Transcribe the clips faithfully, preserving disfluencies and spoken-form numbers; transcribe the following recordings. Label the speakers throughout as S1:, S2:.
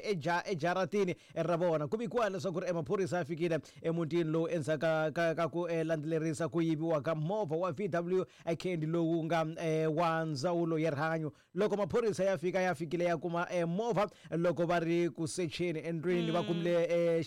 S1: ejaratini ra vona. Ku vikiwa leswaku ri maphorisa ya fikile emutini lowu endzhaku ka, ka, ka ku eh, landzelerisa ku yiviwa ka movha wa V W Candy lowu nga eh, wa ndzawulo ya rihanyo. Loko maphorisa ya fika ya fikile ya kuma eh, movha loko va ri ku secheni endlwini, va kumile eh,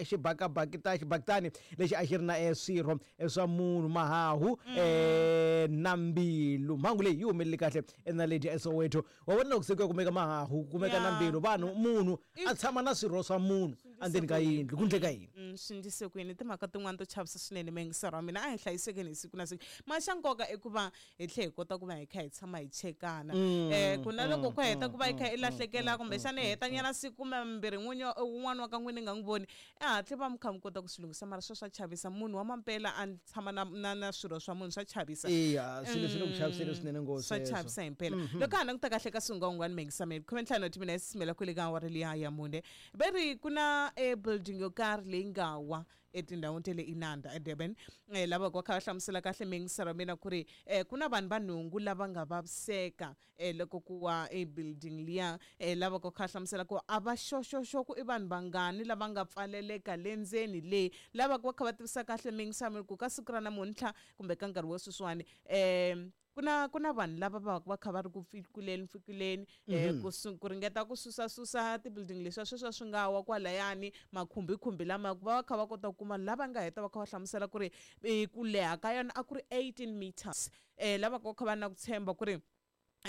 S1: xibakabakita xibakitani lexi a xi ri na eh, swirho swa munhu, mahahu eh, na mbilu. Mhangu leyi yi humelele kahle eNaledi eSoweto. Wa vona loko se ku ya kumeka mahahu, kumeka na mbilu, vanhu munhu a tshama na swirho swa munhu endzeni ka yindlu, ku ndleka yini?
S2: Swi ndlise ku yini? Timhaka tin'wana to chavisa swinene muyingiseri wa mina, a hi hlayisekeni hi siku na siku. Ma xa nkoka i ku va hi tlhe hi kota ku va hi kha hi tshama hi chekana. Eh ku na loko ku heta ku va hi kha i lahlekela kumbexana hi heta nyana siku kumbe mambirhi n'winyi wun'wana wa ka n'wini nga n'wi voni, e hatli va mi kha mi kota ku swi lunghisa. Mara sweswo swa chavisa, munhu wa mampela a tshama na na na swirho swa munhu, swa chavisa.
S1: Iya, swilo swi le ku chaviseni swinene ngopfu
S2: swa
S1: sweswo.
S2: Chavisa himpela. Loko ha languta kahle ka swingwangwani muyingiseri, khume ntlhanu wa timinete simela kwele ka awara liya ya mune, va ri ku na e building yo karhi leyi nga wa etindhawini ta le Inanda eDurban. Eh, lava va kha va hlamusela kahle muyingiseri wa mina ku ri eh, ku na vanhu va nhungu lava nga vaviseka eh, loko ku wa e building liya. Eh, lava va kha va hlamusela ku a va xoxoxo ku i vanhu vangani lava nga pfaleleka le ndzeni le. Lava va kha va tivisa kahle muyingiseri wa mina ku ka siku ra namuntlha kumbe ka nkarhi wa sweswiwani eh, ku na ku na vanhu lava va va kha va ri ku pfikuleni pfikuleni eh, ku ku ringeta ku susa susa ti-building leswiya sweswiya swi nga wa kwalayani, makhumbikhumbi lama ku va va kha va kota ku kuma lava nga heta va kha va hlamusela ku ri ku leha ka yona a ku ri eighteen meters. Eh, lava va kha va na ku tshemba ku ri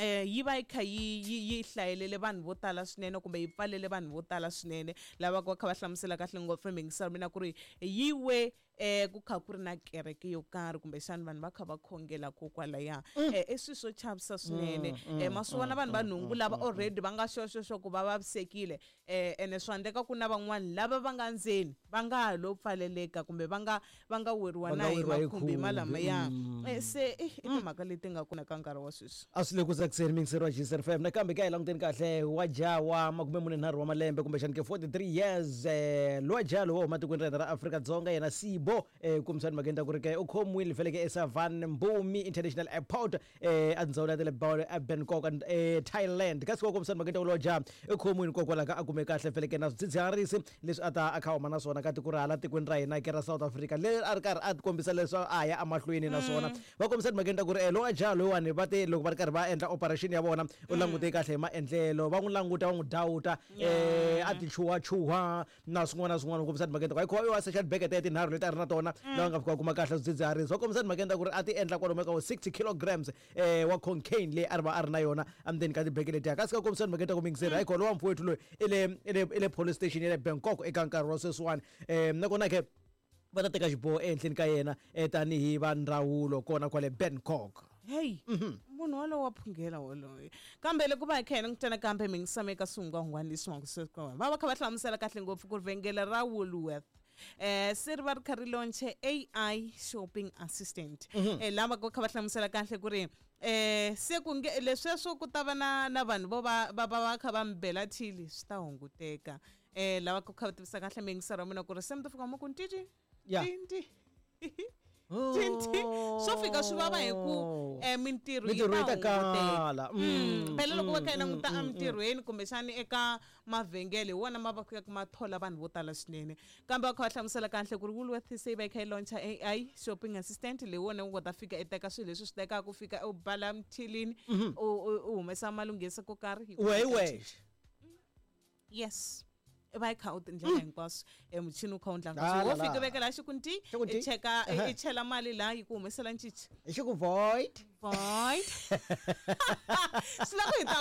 S2: eh yi va yi kha yi yi yi hlayelele vanhu vo tala swinene kumbe yi pfalele vanhu vo tala swinene. Lava va kha va hlamusela kahle ngopfu muyingiseri wa mina ku ri yi we eh ku kha ku ri na kereke yo karhi kumbexana vanhu va kha va khongela kokwalaya. Eh i swilo swo chavisa swinene. Eh ma swi vona vanhu va nhungu lava already va nga xoxoxo ku va vavisekile, eh ene swa endleka ku na van'wani lava va nga ndzeni va nga ha lo pfaleleka kumbe va nga va nga weriwa na hi makhumbi malamaya. Eh se i timhaka leti nga kona ka nkarhi wa sweswi.
S1: A swi le ku tsakiseni muyingiseri wa G S F M. Nakambe ka hi languteni kahle wa jaha wa makume mune nharhu wa malembe kumbexana ke forty-three years, eh lowa jaha lowu wa huma tikweni ra hina ra Afrika-Dzonga, yena Sibo eh kumbexana mhaka endla ku ri ke u khomiwile feleke eSavan Mbumi International Airport eh endzhawu ya le Bangkok eh Thailand. Kasi ko kumbexana mhaka endla ku lowa jaha u khomiwile kokwalaho ka a kume kahle feleke na swidzidziharisi leswi a ta a kha huma na swona ka tiko ra hala tikweni ra hina ke ra South Africa, leri a ri karhi a kombisa leswaku a ya emahlweni na swona. Va kombisa mhaka endla ku ri lowa jaha loyiwani va te loko va ri karhi va endla operation ya vona u langute kahle hi maendlelo, va n'wi languta va n'wi dawuta eh a ti chuhachuha na swin'wana na swin'wana. Kombisa timhaka ta ku wa secha tibekete ya tinharhu leti a ri na tona lava nga fika kuma kahle swidzidziharisi. Va kombisa timhaka ta ku ri a ti endla kwalomu ka sixty kilograms eh wa cocaine leyi a ri va a ri na yona endzeni ka tibeke letiya. Kasi ka kombisa timhaka ta ku muyingiseri hayi khona lowa mfowethu loyi i le i le i le police station ya le Bangkok eka nkarhi wa sweswiwani. Eh nakona ke va ta teka xiboho ehenhleni ka yena tanihi va ndzawulo kona kwale Bangkok.
S2: Hey, munhu walowo wa phungela woloye. Kambe loko va hi kha hi langutana kambe muyingiseri eka swingwangwani leswi va va va kha va hlamusela kahle ngopfu ku ri vhengele ra Woolworth eh se ri va ri kha ri launche A I shopping assistant. Eh lava va kha va hlamusela kahle ku ri eh se ku nge lesweswo ku ta va na na vanhu vo va va va kha va mbela thili swi ta hunguteka. Eh lava ku kha va tivisa kahle muyingiseri wa mina ku ri se mi ta fika mo ku ntiti tinti tinti swo fika swi vava hi ku eh mintirho yi ta
S1: kala.
S2: Phela loko va kha hi languta emintirhweni kumbexani eka mavhengele hi wona ma va ku ma thola vanhu vo tala swinene. Kambe va kha va hlamusela kahle ku ri Woolworth se va yi kha yi launcha A I shopping assistant leyi wona u nga ta fika i teka swilo leswi swi tekaka ku fika u bala mthilini u u humesa malunghisa ko karhi.
S1: Wehe wexe.
S2: Yes. Va yi kha u tindlela hinkwaswo e muchini wu kha wu ndla wo fika vekela xi ku nti i cheka i chela mali laha yi ku humesela ncici
S1: i xi ku void
S2: void swi lava hi ta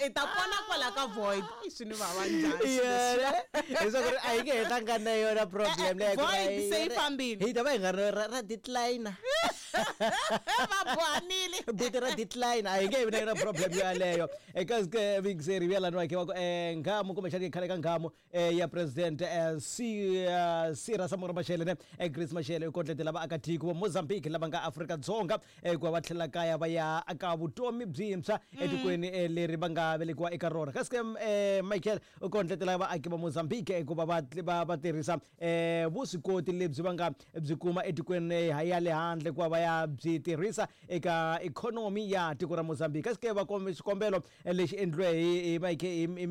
S2: hi ta pona kwala ka void i swi ni vava njhani
S1: leswaku ri a yi nge he hlangani na yona problem leyi
S2: void se yi fambile
S1: hi ta va hi nga ri ra decline
S2: va bohanile
S1: buti ra decline a yi nge vi na yona problem yaleyo. Eka muyingiseri vuya lani wakhe wa ku nghamu kumbexana khale ka nghamu ya president Sira Samora Machel ne Grace Machel u kondletela vaakatiko va Mozambique lava nga Afrika-Dzonga ku va va tlhela kaya va ya aka vutomi byintshwa etikweni leri va nga velekiwa eka rona. Kasi ke Michael u kondletela vaaki va Mozambique ku va va va tirhisa vuswikoti lebyi va nga byi kuma etikweni ya le handle ku va va ya byi tirhisa eka ikhonomi ya tiko ra Mozambique. Kasi ke va xikombelo lexi endliwe hi Michael